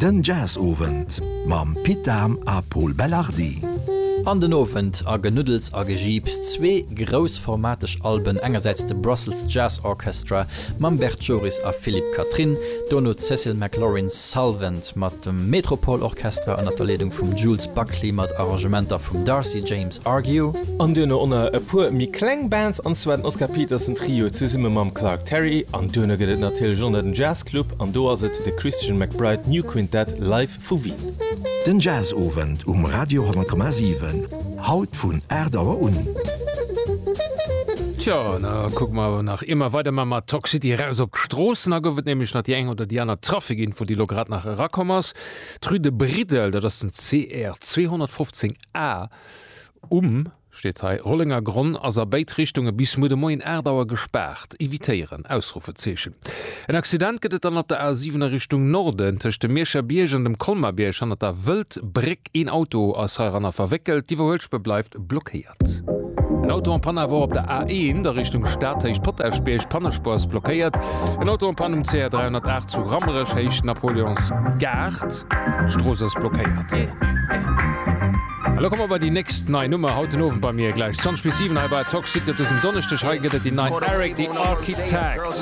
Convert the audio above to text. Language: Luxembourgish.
Den Jazzowend mam Pit Dahm a Pol Belardi. An den Owend a Genuddels a Gejiips, zwee groussformateg Alben, engersäits de Brussels Jazz Orchestra mam Bert Joris a Philippe Catherine, dono d'Cécile McLorin Salvant mat dem Metropole Orchestra ënner der Leedung vum Jules Buckley mat Arrangementer vum Darcy James Argue. An duerno onnner e puer méi kleng Bands, an zwar den Oscar Peterson Trio zesumme mam Clark Terry. An duerno gëtt et natierlech onnner den Jazz Club, an do ass et de Christian McBride New Quintet live vu Wien. Den Jazzowend um Radio 10,7, haut vun 8 Auer un. Tjo, da kucke mer awer nach ier mer weiderman mat Talk City eraus op d'Stroossen. Da gouf et nämlech nach déi eng oder déi aner Trafikinfo, déi elo grad nach erakomm ass. D'Rue de Bridel, dat ass den CR 215 A um, steet hei, Rollenger Gronn ass a béid Richtunge bis muer de Moien 8 Auer gespaart. Evitéieren! Ausrufezeechen. En Accident gëtt et dann op der A7 a Richtung Norden, tëscht dem Mierscher Bierg an dem Colmar-Bierg, hannert der Wëldbréck. Een Auto ass heiranner verwéckelt, d'Iwwerhuelspuer bleift blockéiert. En Auto en panne awer och op der A1 a Richtung Stad, Héicht Potaschbierg, d'Pannespuer ass blockéiert. En Auto en panne um CR 308 zu Rammerech, Héicht Napoleonsgaart, d'Strooss ass blockéiert. A lo komme mer bei déi nächst nei Nummer haut den Owend bei mir gläich 20 bis 7 hei bei Talk City op dësem Donneschdeg. Hei gëtt et déi nei Eric the Architect.